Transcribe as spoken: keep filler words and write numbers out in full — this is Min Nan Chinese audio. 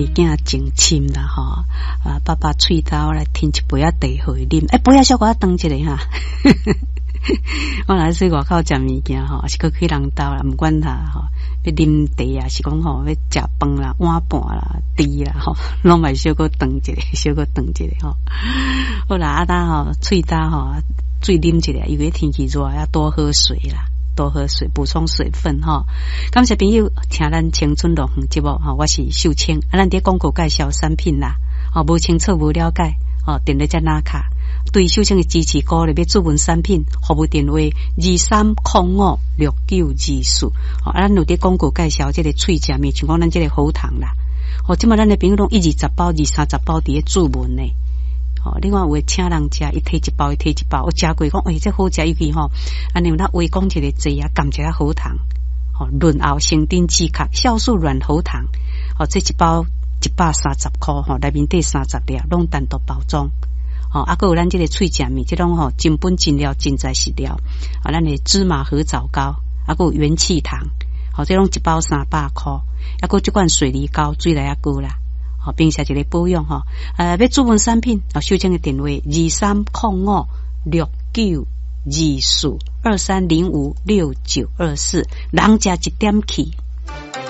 囝情深啦吼，啊，爸爸喙焦來添一杯仔茶予伊啉，欸，杯仔小可長一下哈。我若去外口食物件吼，抑是閣去人兜啦，毋管他吼，欲啉茶啊，是講吼欲食飯啦、碗盤啦、箸啦吼，攏嘛小可長一下，小可長一下吼。好啦，啊焦吼，喙焦吼，水啉一下，因為天氣熱，要多喝水啦。多喝水，補充水分吼。感謝朋友聽咱青春樂園節目吼，我是秀清。啊，咱佇廣告介紹產品啦，吼，無清楚無了解，吼，電話才拿卡。對秀清的支持鼓勵，欲諮詢產品，服務電話二三空五六九二四。吼，啊，咱有佇廣告介紹這個喙食物，像講咱這個喉糖啦。吼，這馬咱的朋友攏一二十包、二三十包佇咧注文呢。吼，另外有的請人食，伊提一包，伊提一包，有食過講，欸，這好食，尤其吼，按呢咱話講一个濟啊，含一下喉糖，吼，潤喉生津止渴，酵素軟喉糖，吼，這一包一百三十箍，吼，內面底三十粒，攏單獨包裝，吼，啊，閣有咱這個喙食物，這種吼真本真料真材實料，啊，咱的芝麻核棗糕，啊，閣有元氣糖，吼，這攏一包三百箍，啊，閣這款水梨膏，水來仔膏啦。平時一个保養吼，呃，欲諮詢產品，哦，秀清的電話二三空五六九二四二三零五六九二四，人食一點氣。